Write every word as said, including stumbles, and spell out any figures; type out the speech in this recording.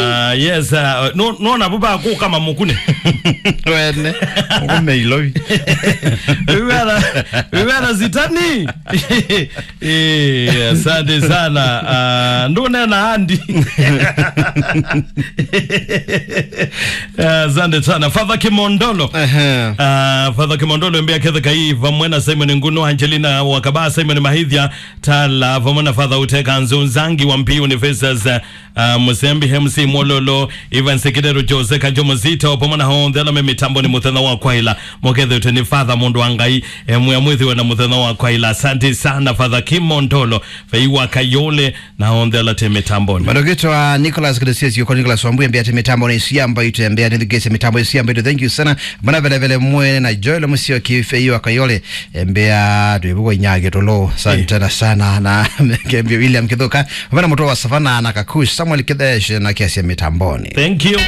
Ah, yes, uh, no, no, na buba kuka mamukune. Wene. Ngume ilovi. Wĩw'ana, wĩw'ana Zitani. Eh, asante sana. Ah, ndunena andi. Ah, asante sana. Father Kimondolo. Ehe. Ah, Father Kimondolo, mbea kethe kai, vamwe na Simon Nguno, Angelina Wakaba, Simon Mahithia, Tala, vamwe na Father Uteka Nzunzangi wa Mpiu University, ah, Musembi, M C Mwololo, Evans Kidero, Jose Kanjo Muzito, pamwe na onthe ala me mitamboni muthenya wa kwaila. Mukethete ni Father, mundu wa Ngai, eh, mwĩa mwithiwe na muthenya wa kwaila. Asante sana, Father Kimondolo, Fei wa Kayole, na onthe ala te mitamboni. Madokitwa Nicholas Kidesiesi, kwa Nicholas Wambui, embea te mitamboni, siamba itu, embea nithukese mitambo, siamba itu. Thank you sana. Mana vele vele mwene na Joel Musio ki Fei wa Kayole, embea tuibuko inyage tolo. Asante na sana, na kembe William Kithuka. Vana muto wa Savana na Kakush, Samuel Kidesh na kiasi ya mitamboni. Thank you.